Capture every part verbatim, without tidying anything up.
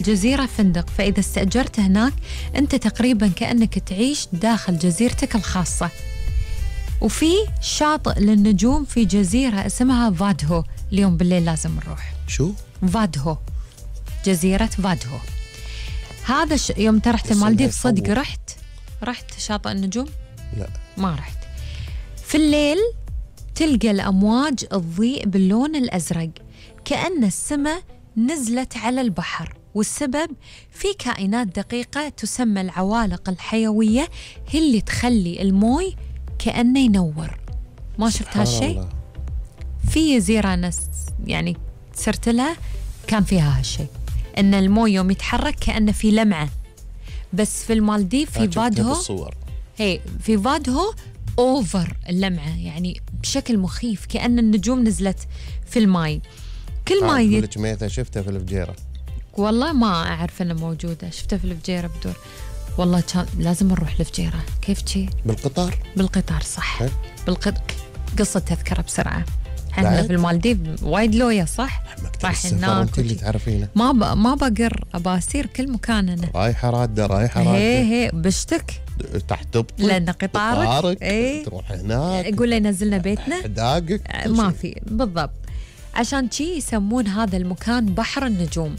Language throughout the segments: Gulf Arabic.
جزيرة فندق، فإذا استأجرت هناك أنت تقريبا كأنك تعيش داخل جزيرتك الخاصة. وفي شاطئ للنجوم في جزيرة اسمها فادهو، اليوم بالليل لازم نروح. شو؟ فادهو، جزيرة فادهو. هذا ش... يوم انت رحت المالديف صدق رحت رحت شاطئ النجوم؟ لا ما رحت. في الليل تلقى الأمواج تضيء باللون الأزرق كأن السماء نزلت على البحر، والسبب في كائنات دقيقة تسمى العوالق الحيوية هي اللي تخلي الموي كأنه ينور. ما شفت هالشيء؟ في جزيرة ناس يعني صرت لها كان فيها هالشيء، ان الموي يوم يتحرك كأنه في لمعة. بس في المالديف في فادهو هي في فادهو اوفر اللمعة، يعني بشكل مخيف كأن النجوم نزلت في الماي. كل ما يقول لك ميتة شفتها في الفجيرة. والله ما أعرف أنها موجودة، شفتها في الفجيرة بدور. والله كان لازم نروح الفجيرة. كيف شي؟ بالقطار. بالقطار صح. بالقطار. قصة تذكرة بسرعة. احنا في المالديف وايد لويا صح؟ رايح هناك انت اللي تعرفين. ما ب... ما بقر ابى اصير كل مكان انا. رايحة رادة رايحة رادة. هي هي بشتك. تحت تبطي. لأن قطارك. قطارك. ايه؟ تروح هناك. يقول لي نزلنا بيتنا. داقك. ما في بالضبط. عشان شي يسمون هذا المكان بحر النجوم.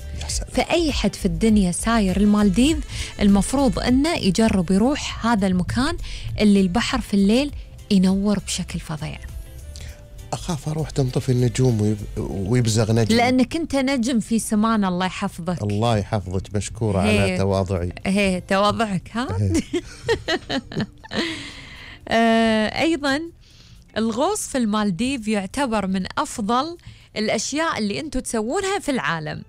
فأي حد في الدنيا ساير المالديف المفروض أنه يجرب يروح هذا المكان اللي البحر في الليل ينور بشكل فظيع. أخاف أروح تنطفي النجوم ويب... ويبزغ نجم. لأنك أنت نجم في سمانا. الله يحفظك. الله يحفظك، مشكورة على تواضعي. هي تواضعك ها. آه أيضا الغوص في المالديف يعتبر من أفضل الأشياء اللي أنتم تسوونها في العالم.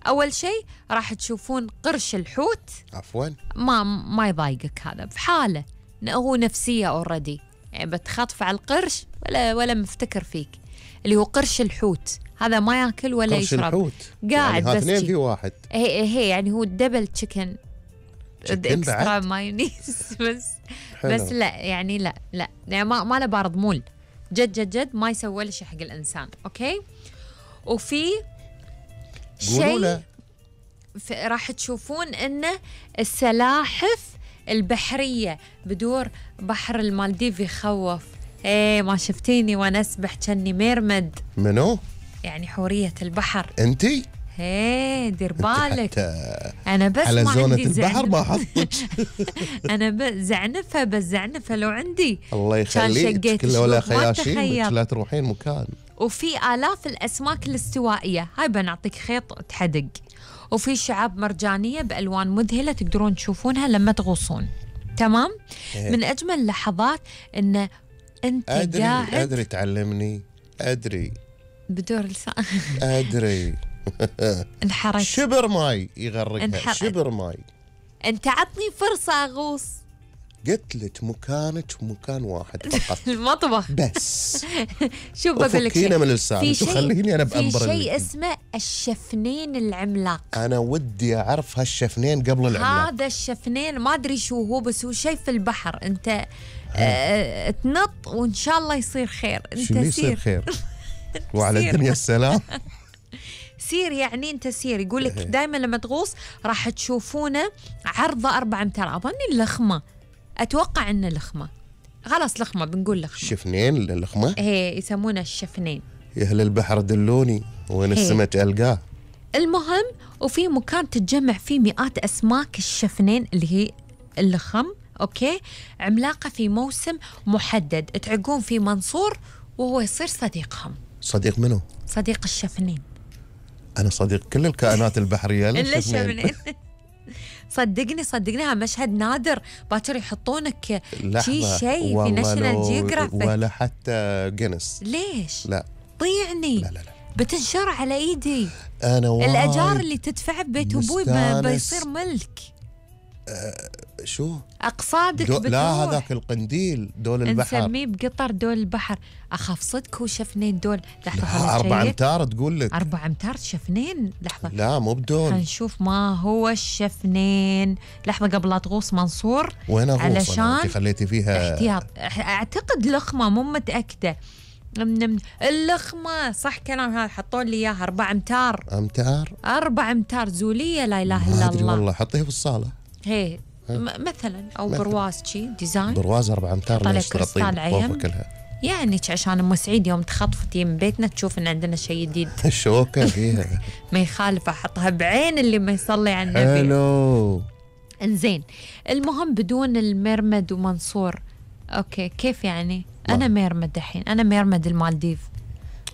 أول شيء راح تشوفون قرش الحوت. عفوا ما ما يضايقك هذا بحاله، هو نفسية أوردي، يعني بتخطف على القرش ولا ولا مفتكر فيك. اللي هو قرش الحوت هذا ما ياكل ولا قرش يشرب. الحوت قاعد يعني بس اثنين في واحد. هي هي يعني هو دبل تشيكن اكسترا مايونيز بس حلو. بس لا يعني لا لا يعني ما ما له بارد مول جد جد جد ما يسوي ولا شيء حق الإنسان. أوكي. وفي شيء راح تشوفون إنه السلاحف البحرية بدور بحر المالديف يخوف. ايه ما شفتيني وانا اسبح كني ميرمد. منو؟ يعني حورية البحر. انتي؟ ايه دير بالك. انا بس على زونة البحر ما حطك. انا زعنفة بس زعنفة لو عندي. الله يخليك كله ولا خياشيم لا تروحين مكان. وفي آلاف الأسماك الاستوائية، هاي بنعطيك خيط تحدق. وفي شعاب مرجانية بألوان مذهلة تقدرون تشوفونها لما تغوصون. تمام؟ إيه. من أجمل اللحظات إن أنت أدري قاعد أدري تعلمني أدري بدور لسان أدري انحرك شبر ماي يغرقها انحرك. شبر ماي. أنت عطني فرصة أغوص. قلت لك مكانك مكان واحد فقط. المطبخ بس. شوف بقول لك شيء من لسانك وخليني أنا بأمبر. في شيء اسمه الشفنين العملاق. أنا ودي أعرف هالشفنين قبل العملاق. هذا الشفنين ما أدري شو هو بس هو شيء في البحر. أنت آه تنط وإن شاء الله يصير خير. أنت شو يصير خير وعلى الدنيا السلام. سير يعني أنت سير. يقول لك دائما لما تغوص راح تشوفونه عرضه أربعة أمتار. أظن اللخمة، أتوقع إنه لخمة. خلاص لخمة بنقول لخمة. الشفنين اللخمة. هي يسمونه الشفنين. يا أهل البحر دلوني وين السمك ألقاه. المهم وفي مكان تتجمع فيه مئات أسماك الشفنين اللي هي اللخم. أوكي. عملاقة في موسم محدد تعقون في منصور وهو يصير صديقهم. صديق منو؟ صديق الشفنين. أنا صديق كل الكائنات البحرية إلا الشفنين. صدقني صدقني مشهد نادر. باكر يحطونك شيء شيء في ناشونال جيوغرافيك ولا حتى جينيس. ليش؟ لا ضيعني. لا لا لا بتنشر على ايدي. انا وايد الاجار اللي تدفع ببيت ابوي بيصير ملك. أه شو اقصادك دو... لا هذاك القنديل دول البحر نسميه بقطر دول البحر. اخاف صدق هو شفنين دول. لحظه أربع أمتار تقول لك. أربع أمتار شفنين. لحظة لا مو بدول. هنشوف ما هو الشفنين. لحظة قبل لا تغوص منصور. وين أغوص علشان أنت خليتي فيها احتياط. أعتقد لخمة مو متأكدة نم نم اللخمة صح كلام هذا، حطوا لي إياها أربع أمتار. أمتار أربع أمتار زولية لا إله ما إلا أدري الله. والله، حطيه في الصالة هي مثلا أو مثلاً. برواز شي ديزاين، برواز أربع أمتار طلع ليش كريستال تغطين عين. فوق كلها؟ يعني عشان أم سعيد يوم تخطفتي من بيتنا تشوف إن عندنا شيء جديد. الشوكة فيها ما يخالف أحطها بعين اللي ما يصلي على النبي. حلو. انزين المهم بدون المرمد ومنصور. اوكي كيف يعني؟ ما. انا مرمد الحين، انا مرمد المالديف،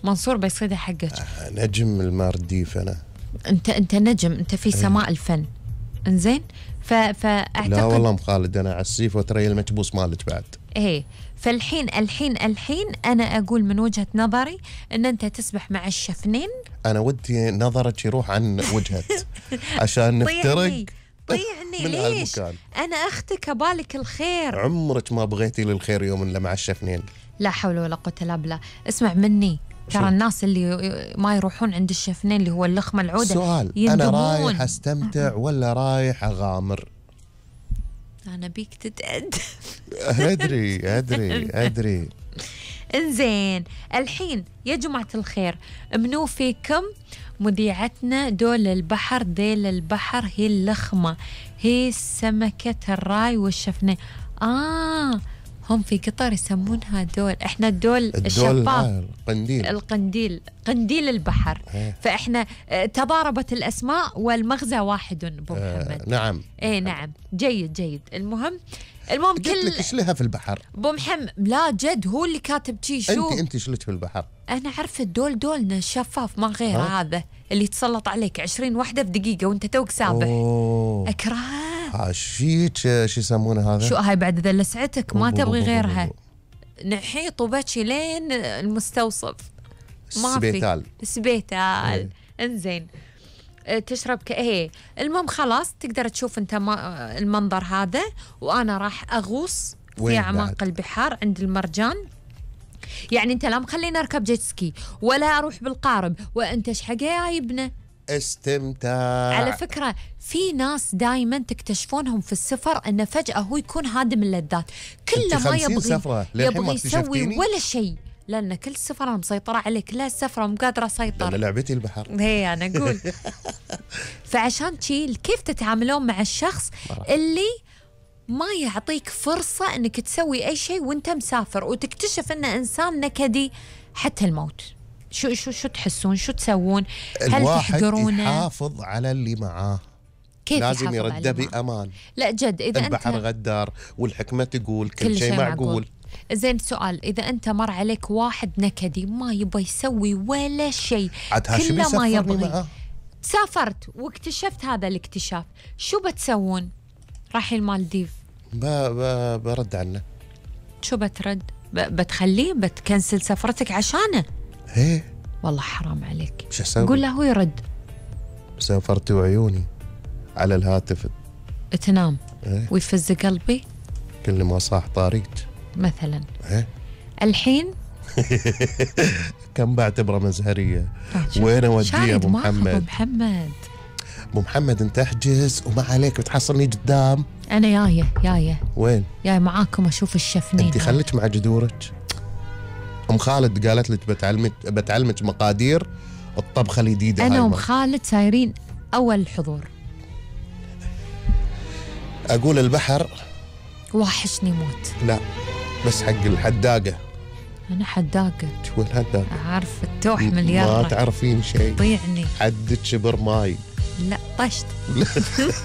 منصور بيصيدها حقك. آه، نجم المالديف أنا. انت انت نجم، انت في سماء الفن. انزين ف فاعتقد لا والله ام خالد، انا على السيف وتري المكبوس مالك بعد. ايه فالحين الحين الحين انا اقول من وجهة نظري ان انت تسبح مع الشفنين. انا ودي نظرك يروح عن وجهك عشان نفترق طيعني طيعني من ليش؟ هالمكان. انا اختك ابالك الخير. عمرك ما بغيتي للخير يوم الا مع الشفنين. لا حول ولا قوة الا بالله. اسمع مني، ترى الناس اللي ما يروحون عند الشفنين اللي هو اللخمة العودة سؤال، يندمون. انا رايح استمتع ولا رايح اغامر؟ انا بيك تتأدب. ادري ادري ادري. انزين الحين يا جماعة الخير، منو فيكم مذيعتنا دول البحر ديل البحر هي اللخمة، هي سمكة الراي والشفنين. آه هم في قطر يسمونها دول، احنا الدول الدول الشفاف. آه القنديل. القنديل قنديل البحر. إيه. فاحنا آه، تضاربت الاسماء والمغزى واحد ابو محمد. آه نعم. ايه نعم جيد جيد. المهم المهم قلت كل لك ايش لها في البحر؟ ابو محمد لا جد هو اللي كاتب شي. شو انت انت ايش لك في البحر؟ انا عارفه الدول دولنا شفاف ما غير ها؟ هذا اللي يتسلط عليك عشرين وحده في دقيقه وانت توك سابح. اوه اكرهه. ها شيك شو يسمونه هذا؟ شو هاي بعد اذا لسعتك ما أوه، تبغي أوه، أوه، غيرها. أوه. نحيط وبكي لين المستوصف. ما في السبيتال. سبيتال. انزين أه، تشرب ك ايه. المهم خلاص تقدر تشوف انت ما المنظر هذا، وانا راح اغوص في وين اعماق بعد؟ البحار عند المرجان. يعني انت لا مخليني اركب جيت سكي ولا اروح بالقارب، وانت ايش حق جايبنا؟ استمتاع. على فكره في ناس دائما تكتشفونهم في السفر انه فجاه هو يكون هادم اللذات، كله أنت ما خمسين يبغي سفرة، للحين ما يبغي يسوي اكتشفتيني؟ ولا شيء، لان كل سفره انا مسيطره عليك، لا السفره مو قادره انا اسيطر. لعبتي البحر. هي انا اقول. فعشان شي كيف تتعاملون مع الشخص اللي ما يعطيك فرصة انك تسوي اي شيء وانت مسافر، وتكتشف انه انسان نكدي حتى الموت؟ شو شو شو تحسون؟ شو تسوون؟ هل الواحد تحقرونه؟ يحافظ على اللي معاه. كيف لازم يحافظ يرده على الماء؟ بأمان. لا جد اذا البحر انت غدار والحكمة تقول كل, كل شيء شيء معقول. معقول. زين سؤال، اذا انت مر عليك واحد نكدي ما يبغى يسوي ولا شيء، عاد هاشم كله ما يسفرني يبغي، معاه. سافرت واكتشفت هذا الاكتشاف، شو بتسوون؟ رايحين المالديف، ب... ب... برد عنه. شو بترد؟ ب... بتخليه بتكنسل سفرتك عشانه؟ ايه والله حرام عليك. شو اسوي؟ قول له هو يرد. سافرت وعيوني على الهاتف. تنام ايه ويفز قلبي كل ما صاح طاريك. مثلا. ايه الحين كم بعتبره مزهرية. آه، شوف. وين اوديه شاهد ابو ماخذ ابو محمد؟ محمد. ابو محمد انت احجز وما عليك بتحصلني قدام. انا جايه جايه وين؟ جاي معاكم اشوف الشفنين. انت خليك مع جذورك. ام خالد قالت لك بتعلمك بتعلمك مقادير الطبخه الجديده. انا هاي وام ما. خالد سايرين اول حضور. اقول البحر واحشني موت. لا بس حق الحداقه. انا حداقه. شو الحداقه؟ عارف التوح ما مليار. تعرفين شيء. طيعني. حدك شبر ماي. لا طشت.